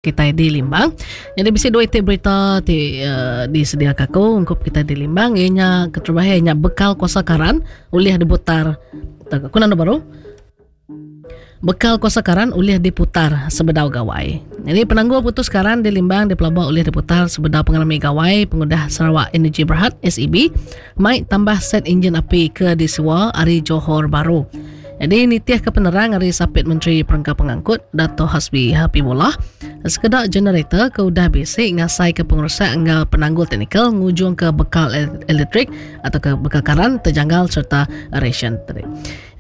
Kitai di Limbang. Nyadi bisi dua iti berita ti uh, disediaka aku ungkup kitai di Limbang iya nya keterubah iya nya bekal kuasa karan ulih diputar aku nanda baru bekal kuasa karan ulih diputar sebedau gawai. Jadi penanggul putus karan di Limbang dipelaba ulih diputar sebedau pengerami gawai pengudah Sarawak Energy Berhad SEB mai tambah set enjin api ke disiwa ari Johor Bahru. Jadi nitih ke penerang ari Sapit Menteri Perengka Pengangkut Dato Hasbi Habibullah, sekeda generator ke udah bisi ngasai ke pengerusak enggau penanggul teknikal ngujung ke bekal elektrik atau ke bekal karan terjanggal serta ration tadi.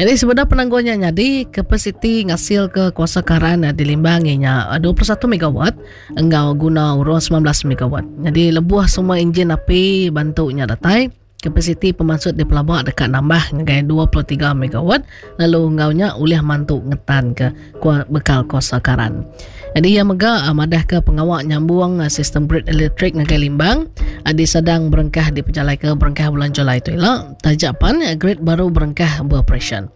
Jadi sebedau penanggul nya nyadi, kapasiti ngasil ke kuasa karan di Limbang iya nya 21 megawatt enggau guna urung 19 megawatt. Jadi lebuh semua enjin api bantu nya datai, Kapasiti pemansut dipelaba deka nambah ngagai 23 megawatt lalu enggau nya ulih mantu ngetanka bekal kuasa karan. Nyadi iya mega ah, madahka pengawa nyambung ah, sistem grid elektrik ngagai Limbang ah, disadang berengkah dipejalaika berengkah bulan Julai tu ila taja pan grid baru berengkah beoperasyen.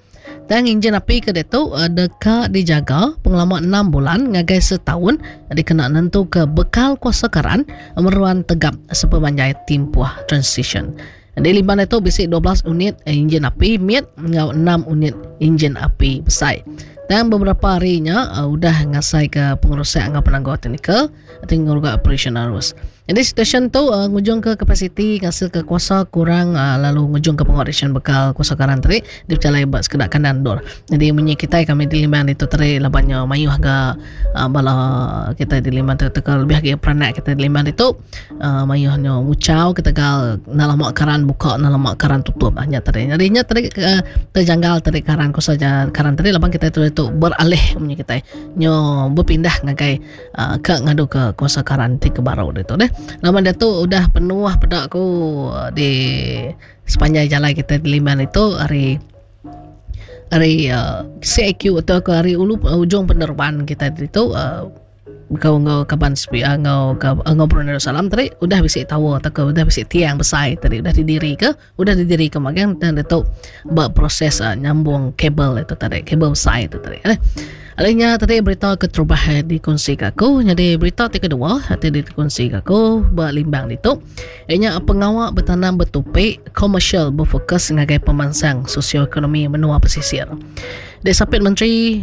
Tang injin api ke diatu deka dijaga pengelama enam bulan ngagai setaun dikena nentuka bekal kuasa karan meruan tegap sepemanjai timpuh transisyen. Di Liban ditu bisi 12 unit injin api mit enggau enam unit injin api besai. Tang beberapa hari nya udah ngasaika pengerusak enggau penanggul teknikal. ti ngeruga operasyen arus. Nyadi situasyen tu uh, ngujungka kapasiti ngasilka kuasa kurang uh, lalu ngujungka pengoperasyen bekal kuasa karan tadi dipejalai ba sekeda kandang endur. Nyadi munyi kitai kami di Limbang ditu tadi laban nya mayuh ga uh, bala kitai di Limbang tu teka lebih agi peranak kitai di Limbang ditu uh, mayuh nya nguchau ketegal enda lama karan buka enda lama karan tutup nya tadi. Nyadi nya tadi uh, terjanggal tadi karan kuasa karan tadi laban kitai tu ditu beralih munyi kitai nyo bepindah ngagai uh, ke ngadu ke kuasa karan ti ke baru ditu deh. Laban diatu udah penuh peda aku ah, di sepanjang jalai kita di Liman itu hari hari uh, CIQ atau ke hari ulu uh, ujung penerban kita ditu uh, kau enggau kaban SPA enggau enggau Brunei Darussalam tadi udah bisi tower atau ke udah bisi tiang besai tadi udah didiri ke udah didiri ke magang dan ditu ba proses uh, nyambung kabel itu tadi kabel besai itu tadi eh. Alainya tadi berita keterubah eh, dikongsi ke aku jadi berita ti kedua ti dikongsi ke aku ba limbang ditu ianya pengawa betanam betupi komersial berfokus ngagai pemansang sosioekonomi menua pesisir. Di sapit Menteri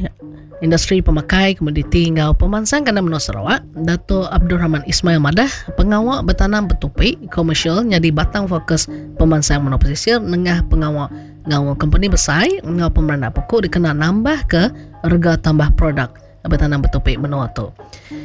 Industri Pemakai, Komoditi enggau Pemansang Kandang Menua Sarawak, Datuk Abdul Rahman Ismail madah, pengawa betanam betupi komersial nyadi batang fokus pemansang menua pesisir nengah pengawa ngaul kompeni besai enggau pemeranak puku dikena nambahka rega tambah produk betanam betupi menua tu.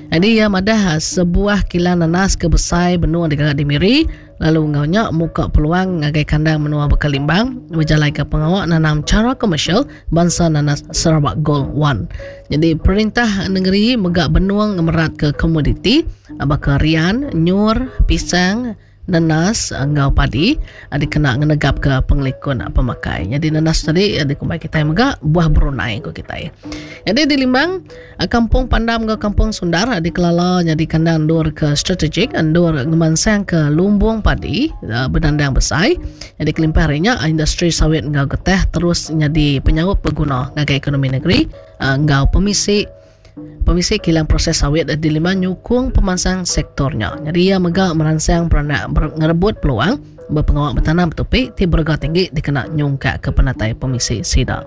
Nyadi iya madah sebuah kilang nanas ke besai benung digaga di Miri lalu enggau nya muka peluang ngagai kandang menua baka Limbang bejalaika pengawa nanam chara komersial bansa nanas Sarawak Gold One. Nyadi perintah nengeri mega benung ngemeratka komoditi baka rian, nyur, pisang, Nenas enggau padi dikena ngenegapka pengelikun pemakai. Nyadi nenas tadi dikumbai kitai mega buah Brunei ku kitai. Nyadi di Limbang, Kampung Pandam enggau Kampung Sundar dikelala nyadi kandang endur ke strategik endur ngemansangka lumbung padi bedandang besai. Nyadi kelimpah ari nya, industri sawit enggau getah terus nyadi penyaup beguna ngagai ekonomi negeri enggau pemisi Pemisi kilang proses sawit di Liman nyukung pemansang sektor nya. Nyadi iya mega meransang peranak ngerebut peluang ba pengawa betanam betupi ti berega tinggi dikena nyungkakka penatai pemisi sida.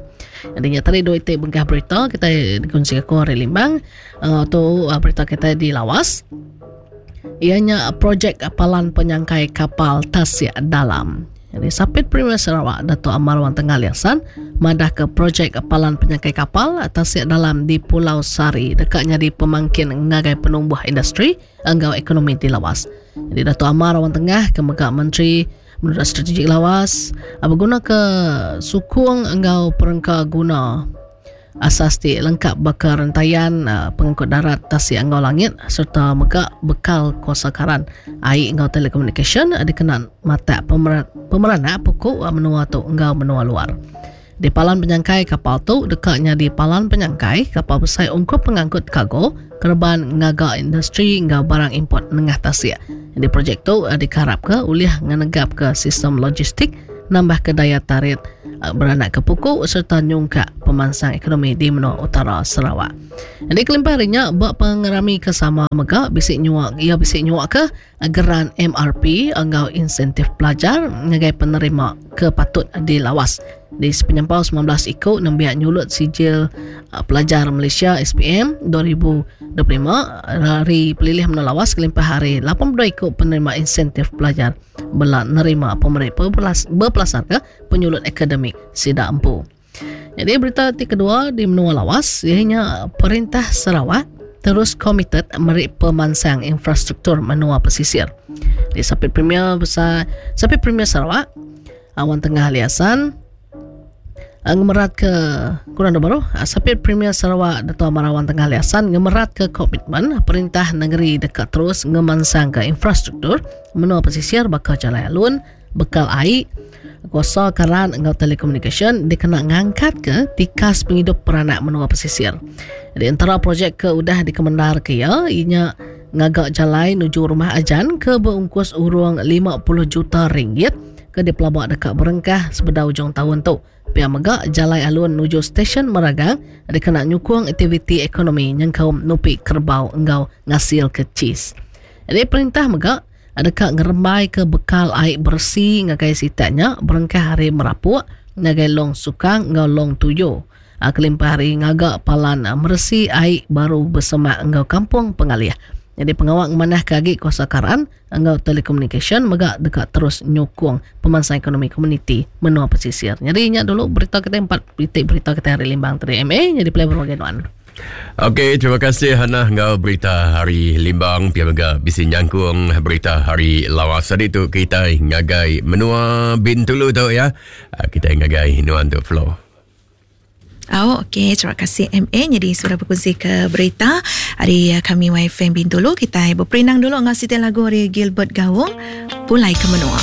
Nyadi nya tadi dua iti bengkah berita kitai dikunsi aku ari Limbang uh, tu uh, berita kitai di Lawas. Iya nya projek palan penyangkai kapal tasik dalam. Jadi Sapit Premier Sarawak Datuk Amar Wang Tengah Liasan madahka projek palan penyangkai kapal tasik dalam di Pulau Sari deka nyadi pemangkin ngagai penumbuh industri enggau ekonomi di Lawas. Jadi Datuk Amar Wang Tengah ke mega Menteri Menurut Strategik Lawas begunaka sukung enggau perengka guna Asas ti lengkap baka rentayan pengangkut darat, tasik enggau langit sereta mega bekal kuasa karan, ai enggau telekomunikasyen dikena matak pemeranak puku menua tu enggau menua luar. Di palan penyangkai kapal tu deka nyadi palan penyangkai kapal besai ungkup pengangkut kargo, kereban ngaga industri enggau barang import nengah tasik. Nyadi projek tu dikarapka ulih ngenegapka sistem logistik. nambahka daya tarit beranakka puku sereta nyungkak pemansang ekonomi di menua utara Sarawak. Nyadi kelimpah ari nya ba pengerami ke sama mega bisi nyua iya bisi nyuaka geran MRP enggau insentif pelajar ngagai penerima ke patut dilawas. Di sepenyampau 19 iku nembiak nyulut Sijil uh, Pelajar Malaysia SPM 2025 ari Pelilih Menua Lawas kelimpah ari 82 iku penerima insentif pelajar bela nerima pemeri bepelasarka penyulut akademik sida empu. Jadi berita ti kedua di menua Lawas iya nya perintah Sarawak terus komited meri pemansang infrastruktur menua pesisir. Di Sapit Premier besar Sapit Premier Sarawak Awan Tengah Ali Hassan eh, ngemerat ke kurang baru eh, Sapit Premier Sarawak Dato Amar Awan Tengah Ali Hassan ngemerat ke komitmen perintah negeri deka terus ngemansangka infrastruktur menua pesisir baka jalai alun bekal ai, kuasa karan enggau telekomunikasyen dikena ngangkatka tikas pengidup peranak menua pesisir. Di entara projek ke udah dikemendarka iya, iya nya ngaga jalai nuju Rumah Ajan ke beungkus urung 50 juta ringgit ke dipelaba deka berengkah sebedau ujung taun tu. Pia mega jalai alun nuju stesyen Meragang dikena nyukung aktiviti ekonomi nyengkaum nupi kerebau enggau ngasilka cheese. Jadi perintah mega deka ngerembaika bekal ai beresi ngagai sitak nya berengkah ari Merapuk ngagai Long Sukang enggau Long Tuyo kelimpah ari ngaga palan meresi ai baru besemak enggau Kampung Pengalih. Nyadi pengawa ngemanahka agi kuasa karan enggau telekomunikasyen mega deka terus nyukung pemansang ekonomi komuniti menua pesisir. Nyadi nya dulu berita kitai empat iti berita kitai hari Limbang tadi MA nyadi pulai baru ngagai nuan. Okey, terima kasih Hannah enggau berita hari Limbang pia mega bisi nyangkung berita hari Lawas tadi tu kitai ngagai menua Bintulu tu ya. Ah, kitai ngagai nuan tu Flo. Oh, okey. Terima kasih MA. Jadi sudah berkongsi ke berita hari eh, kami YFM Bintulu. Kita berperindang dulu dengan siti lagu hari Gilbert Gaung. Pulai ke menua.